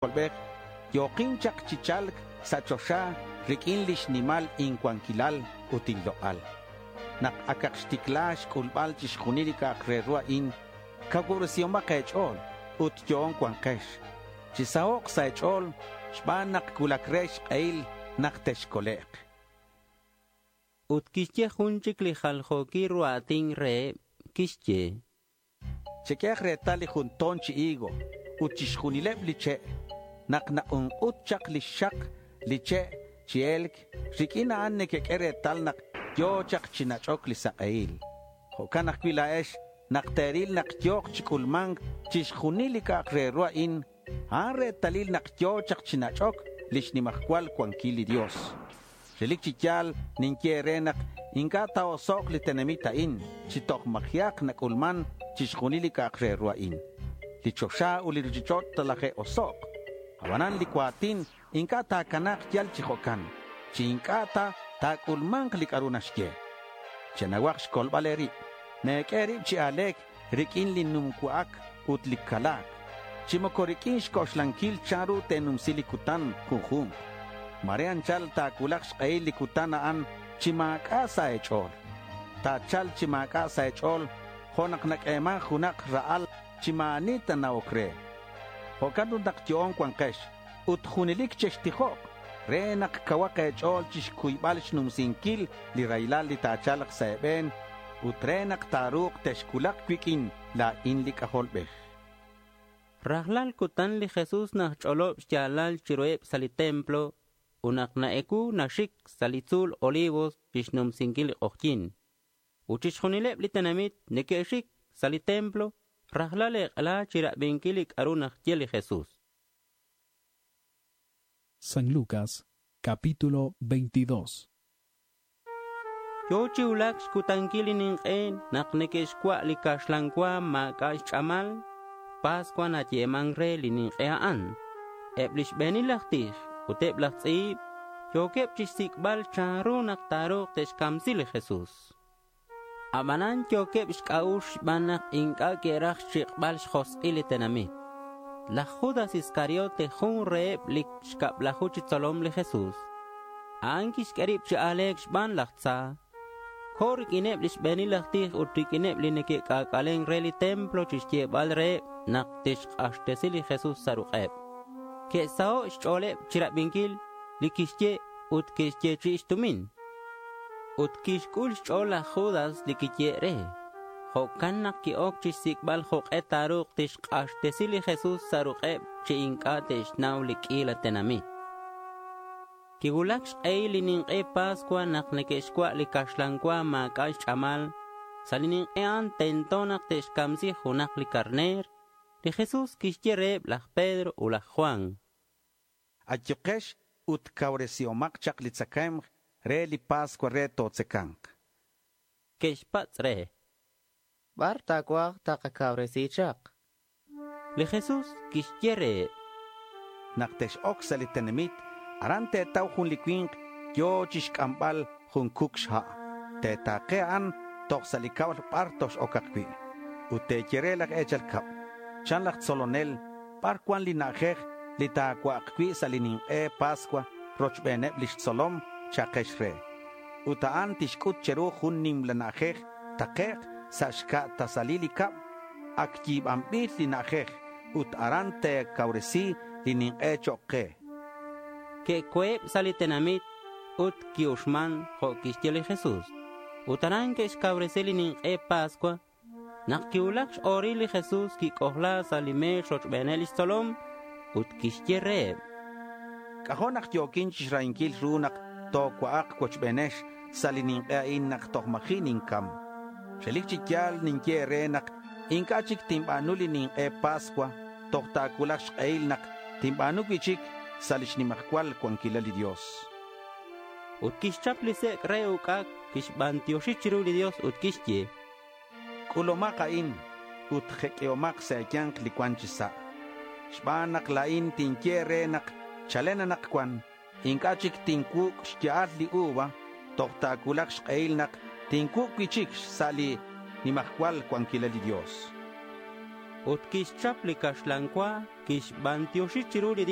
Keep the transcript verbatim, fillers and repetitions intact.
C'ajolbej yo̱kin chak chi cha̱lc sa' choxa riq'uin lix nimal incuanquilal ut inlok'al. Nak acak xticla xc'ulbal chixjunil li c'a'ak re ru a'in, cacuubresihomak e̱ch'o̱l ut yo'on cua̱nkex. Chisahok' sa' e̱ch'o̱l xban nak cuulac re xk'ehil nak texcolek'. Ut quixye jun chic li jaljo̱quil ru a̱tin reheb. Quixye: Cheq'uehak retal li jun to̱n chi higo ut chixjunileb li che'. Nak nak'unk'ut chak lix xak li che' chi e̱lc, riq'uin a'an nequeq'ue retal nak yo̱ chak chi nach'oc li sak'ehil. Jo'can ajcui' la̱ex nak te̱ril nak yo̱k chi c'ulma̱nc chixjunil li c'a'ak re ru a'in, a'an retalil nak yo̱ chak chi nach'oc lix nimajcual cuanquil li Dios. Relic chi ya̱l ninye e̱re nak inc'a' ta̱osok' li tenamit a'in chi toj ma̱ji'ak nac'ulman chixjunil li c'a'ak re ru a'in. Li choxa ut li ruchich'och' talaje'osok'. Abanan li cua̱tin inc'a' ta̱cana̱k yal chi jo'can, chi inc'a' ta ta̱c'ulma̱nk li c'a'ru naxye. Chenauhak xcolbal e̱rib. Me̱q'ue e̱rib chi a̱le̱c riq'uin li num cua'ac ut li cala̱c, chi moco riq'uin xc'oxlanquil chanru te̱numsi li cutan junju̱nk. Ma̱re anchal ta̱cuulak xk'ehil li cutan a'an chi ma̱c'a' sa' e̱ch'o̱l. Ta̱cha̱lk chi ma̱c'a' sa' e̱ch'o̱l jo' nak naq'ueman junak ra'al chi ma̱ ani nana'oc re. Jo'can ut nak yo'on cua̱nkex ut junelic chextijok re nak cauhak e̱ch'o̱l chixcuybal xnumsinquil li raylal li ta̱cha̱lk sa' e̱be̱n ut re nak ta̱ru̱k texcuulak cuiq'uin la̱in li C'ajolbej. Rajlal cutan li Jesús naxch'olob xya̱lal chiruheb sa' li templo ut nak na-ecuu naxic sa' li tzu̱l Olivos chixnumsinquil li k'ojyi̱n. Ut chixjunileb li tenamit neque'xic sa' li templo rajlal ek'ela chirabinquil li c'a'ru naxye li Jesús. San Lucas, capítulo veintidós. Yo̱ chi cuulac xcutanquil li nink'e nak neque'xcua' li caxlan cua ma̱c'a' xch'amal. Pascua nayeman re li nink'e a'an. Eb li xbe̱nil laj tij ut eb laj tz'i̱b yo̱queb chixsic'bal chanru nak ta̱ru̱k te'xcamsi li Jesús. Abanan yo̱queb xc'a'ux xban nak inc'a' que'raj xchik'bal xjosk'il li tenamit. Laj Judas Iscariote jun reheb li xcablaju chi xtzolom li Jesús. A'an quixq'ue rib chi a̱le̱c xban laj tza. Co̱ riq'uineb li xbe̱nil laj tij ut riq'uineb li neque'c'ac'alen re li templo chixyebal reheb nak tixk'axtesi li Jesús sa' ruk'eb. Que'saho' xch'o̱leb chirabinquil li quixye ut que'xyechi'i xtumin. Ut quixc'ul xch'o̱l laj Judas li quiye' re. Jo'can nak qui-oc chixsic'bal jok'e ta̱ru̱k tixk'axtesi li Jesús sa' ruk'eb chi inc'a' te'xnau li q'uila tenamit. Quicuulac xk'ehil li nink'e Pascua nak neque'xcua' li caxlan cua ma̱c'a' xch'amal. Sa' li nink'e a'an tento nak te'xcamsi junak li carner. Li Jesús quixye reheb laj Pedro ut laj Juan: Ayukex ut cauresihomak chak li tzacae̱mk re li Pascua re totzaca̱nk. Que'xpatz' re: ¿Bar ta̱cuaj takacauresi chak? Li Jesús quixye reheb: Nak tex-oc sa' li tenamit, aran te̱tau jun li cui̱nk yo̱ chixc'ambal jun cuc xha'. Te̱ta̱ke a'an toj sa' li cab bar tox-ocak cui'. Ut te̱ye re laj e̱chal cab, chan laj tzolonel, ¿bar cuan li na'ajej li ta̱cua'ak cui' sa' li nink'e Pascua rochbeneb lix tzolom? Cha'kex re. Ut a'an tixc'ut che̱ru jun nimla na'ajej takec' sa' xca' tasalil li cab. Ac yi̱banbil li na'ajej ut aran te̱cauresi li nink'e chok' ke. Que'co̱eb sa' li tenamit ut qui-uxman jo' quixye li Jesús. Ut aran que'xcauresi li nink'e Pascua. Nak quicuulac x-o̱ril li Jesús quic'ojla sa' li me̱x rochbeneb lix tzolom ut quixye reheb: C'ajo' nak yo̱quin chixrahinquil ru nak tocua'ak cuochbenex sa' li nink'e a'in nak toj ma̱ji' nincam. Relic chi ya̱l ninye e̱re nak inc'a' chic tinba̱nu li nink'e Pascua toj ta̱cuulak xk'ehil nak tinba̱nu cui'chic sa' lix nimajcual cuanquilal li Dios. Ut quixchap li sec' re uc'ac, quixbantioxi chiru li Dios ut quixye: C'ulumak a'in ut jeq'uihomak sa' e̱ya̱nk li cuan chi sa'. Xban nak la̱in tinye e̱re nak chalen anakcuan inc'a' chic tincuuc' xya'al li uva toj ta̱cuulak xk'ehil nak tincuuc' cui'chic sa' li nimajcual cuanquilal li Dios. Ut quixchap li caxlan cua, Quixbantioxi chiru li Dios.